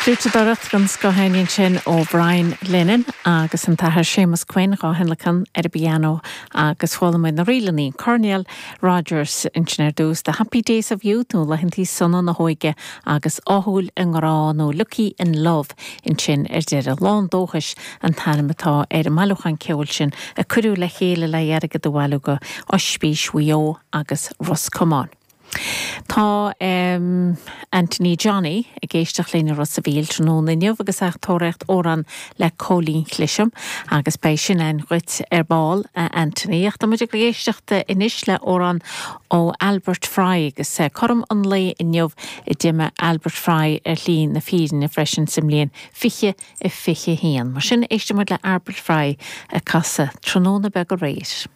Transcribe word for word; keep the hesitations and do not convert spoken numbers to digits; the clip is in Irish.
Fliúiteadóireacht den scoth ansin ó Brian Lennon agus an tAthair Séamus Quinn á thionlacan ar an bpianó agus chuala muid na ríleanna Cornell Rodgers ansin ar dtús The Happy Days of Youth nó Laethantaí Sona na hÓige agus Ádhúil i nGrá nó Lucky in Love ansin ar deireadh Lán Dóchais an t-ainm atá ar an mbailiúchán ceoil sin a cuireadh le chéile le hairgead a bhailiú go Ospís Mhaigh Eo agus Ros Comáin. Tá um, Anthony Johnny ag éisteacht linn Ros a' Mhíl tráthnóna inniu agus é ag tóraíocht amhrán le Cóilín Cliseam agus beidh sin againn dhuit ar ball a Anthony. Ach tá muid ag éisteacht anois le amhrán ó Albert Fry agus eh, cothrom an lae inniu a d'imigh Albert Fry ar shlí na fírinne freisin sa mbliain fiche a fiche haon. Mar sin éistfidh muid le Albert Fry ag casadh Tráthnóna Beag Aréir.